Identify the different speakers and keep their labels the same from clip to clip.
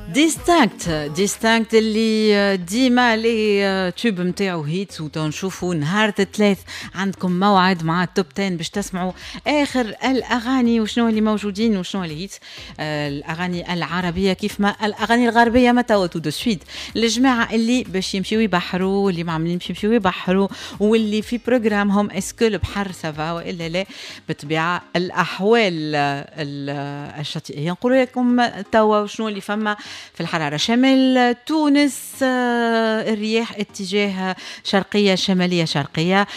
Speaker 1: Distinct، Distinct اللي ديما les tubes نتاعو hits. وتنشوفوا نهار الثلاث عندكم موعد مع ال top 10 باش تسمعوا اخر الاغاني وشنو اللي موجودين وشنو اللي hits، الاغاني العربية كيف ما الاغاني الغربيه. ما توا tout de suite الجماعة اللي باش يمشيو يبحروا، اللي معملين باش يمشيو يبحروا واللي في programme هم، est-ce que البحر ça va والا لا؟ بالطبيعة الاحوال الشاطئيه نقول لكم توا شنو اللي فما في الحرارة. شمال تونس، الرياح اتجاه شرقية شمالية شرقية،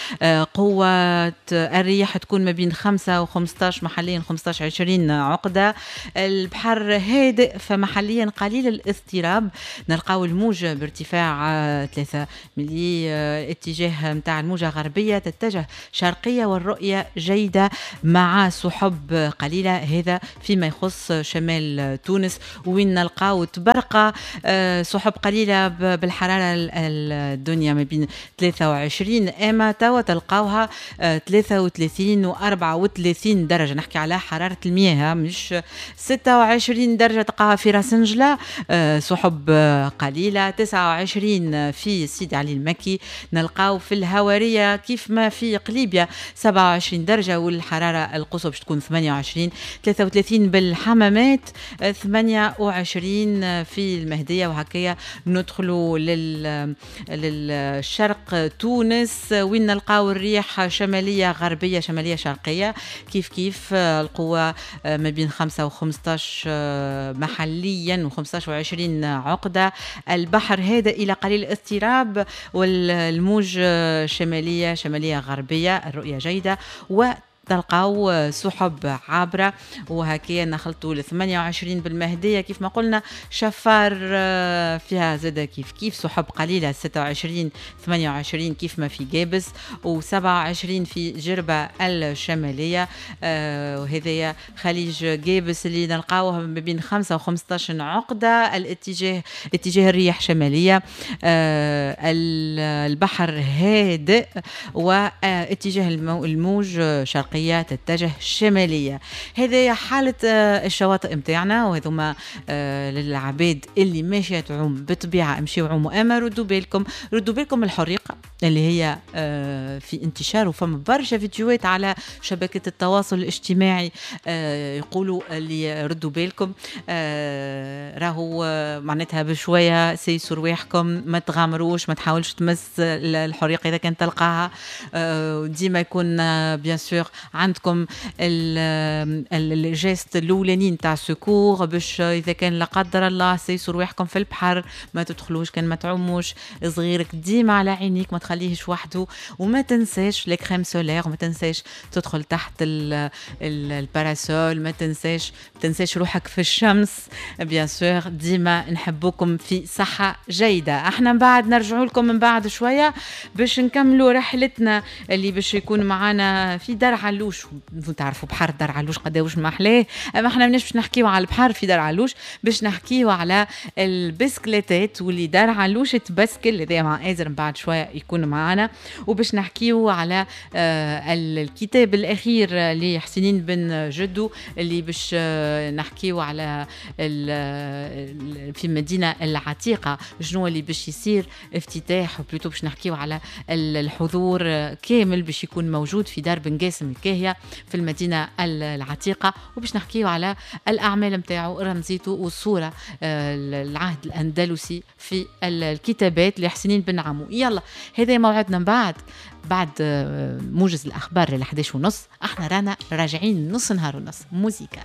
Speaker 1: قوة الرياح تكون ما بين 5 و 15 محليا، 15 20 عقدة. البحر هادئ، فمحليا قليل الاضطراب. نلقاو الموجة بارتفاع 3 ملي، اتجاه متاع الموجة غربية تتجه شرقية، والرؤية جيدة مع سحب قليلة. هذا فيما يخص شمال تونس، وين نلقاو طبرقة سحب قليلة بالحرارة الدنيا ما بين 23، اما توا تلقاوها 33 و 34 درجة. نحكي على حرارة المياه، مش 26 درجة تلقاها في راس نجلة، سحب قليلة. 29 في سيدي علي المكي، نلقاو في الهوارية كيف ما في قليبيا 27 درجة، والحرارة القصوى باش تكون 28، 33 بالحمامات، 28 في المهدية. وهكايا ندخلوا للشرق تونس، وين نلقاو الريح شمالية غربية شمالية شرقية كيف كيف، القوة ما بين 5 و 15 محليا و 15 و 20 عقدة. البحر هادئ إلى قليل الاضطراب، والموج شمالية شمالية غربية، الرؤية جيدة و تلقاو سحب عابرة. وهكا نخلطوا ل 28 بالمهدية كيف ما قلنا. شفار فيها زاد كيف كيف سحب قليلة، 26 28 كيف ما في قابس، و27 في جربة الشمالية. وهذايا خليج قابس اللي نلقاوه ما بين 5 و 15 عقدة، الاتجاه اتجاه الرياح شمالية، البحر هادئ، واتجاه الموج شرقية تتجه شمالية. هذه حالة الشواطئ متاعنا، وهذوما للعباد اللي ماشية تعوم. بالطبيعة امشيو عوموا، اما ردوا بالكم، ردوا بالكم الحريقة اللي هي في انتشار، وفما برشا فيديوهات على شبكة التواصل الاجتماعي يقولوا اللي ردوا بالكم، راهو معناتها بشوية سيسوا رواحكم، ما تغامروش، ما تحاولش تمس الحريقة إذا كان تلقاها. ديما يكون bien sûr عندكم ال gestes الاولانيين تاع secours، باش اذا كان لا قدر الله سيسوا رواحكم في البحر، ما تدخلوش كان ما تعوموش. صغيرك ديما على عينيك، ما تخليهش وحده، وما تنساش les crèmes solaires، وما تنساش تدخل تحت ال parasol، ما تنساش روحك في الشمس bien sûr. ديما نحبوكم في صحة جيدة. احنا من بعد نرجعوا لكم من بعد شوية باش نكملوا رحلتنا اللي باش يكون معنا في دار علوش. تعرفوا بحر دار علوش قداوش ما احلاه، اما احنا ماناش باش نحكيو على البحر في دار علوش، باش نحكيو على البسكليتات واللي دار علوش تبسكل. هذا مع ازر من بعد شوية يكون معنا. وباش نحكيو على الكتاب الاخير لحسنين بن جدو، اللي باش نحكيو على في المدينة العتيقه، شنو اللي باش يصير افتتاح، و plutôt باش نحكيو على الحضور كامل باش يكون موجود في دار بن قاسم الكاهيه في المدينة العتيقه، وباش نحكيو على الاعمال نتاعو، رمزيته، والصورة العهد الاندلسي في الكتابات لحسنين بن عمو. يلا هذا موعدنا من بعد موجز الاخبار ل 11 ونص. احنا رانا راجعين نص نهار ونص موزيكا.